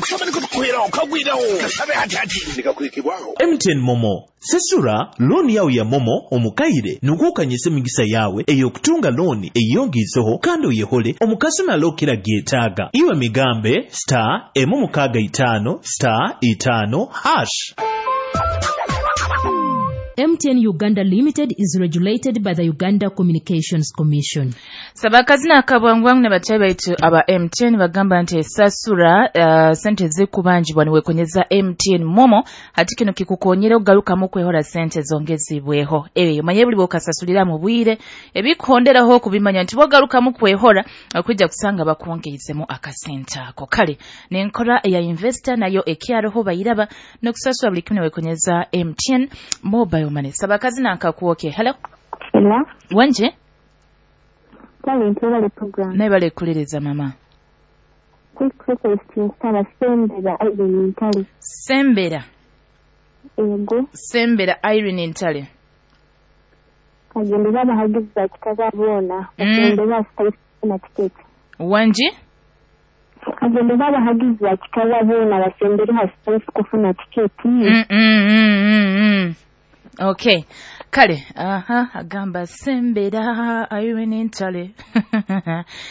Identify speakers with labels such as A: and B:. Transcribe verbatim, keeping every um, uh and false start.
A: Kusaba nikutukuheraho kagwiraho kasabe hati hati nikakwikibwaho.
B: M T N MoMo, sesura looni yawe ya MoMo omukaire nukwo okanyisa emigisa yawe ey'okutunga looni eyongiizeho kandi oyehole omukasumi alokera gyetaaga. Iwe migambe star emu mukaaga itaano star itaano hash.
C: M T N Uganda Limited is regulated by the Uganda Communications Commission.
D: Sabakazina akabwangwangu ne bachayi baitu aba M T N bagamba nti esasura uh, sente zikubanjibwa niwekonyeza M T N MoMo. Hati kino kikukonyera okugarukamu kwehora sente zongezibweho. Eyo manye buli bwokasasulira mu bwire ebikuhonderaho okubimanya nti bwogarukamu kwehora okwijja kusanga bakwongeizemu akasente ako. Kale nenkora eya investor nayo ekyaroho bayiraba n'okusasula buli kimu niwekonyeza M T N Mobile Money. Sabakazina nkakuwoke, hello.
E: Hello.
D: Wanje.
E: Kale ntebale program.
D: Naye balekuliriza mama.
E: Quick request, nsaba Sembera Irene Ntale.
D: Sembera.
E: Ego.
D: Sembera Irene Ntale.
E: Kagende babahagizi ba kitaba boona.
D: Mm.
E: Bagende basitayifuna tiketi.
D: Wangi.
E: Kagende babahagizi ba kitaba boona basembere hasitayisi kufuna tiketi.
D: Mm, mm, mm, mm, mm. Okay, kale aha agamba Sembera Irene Ntale.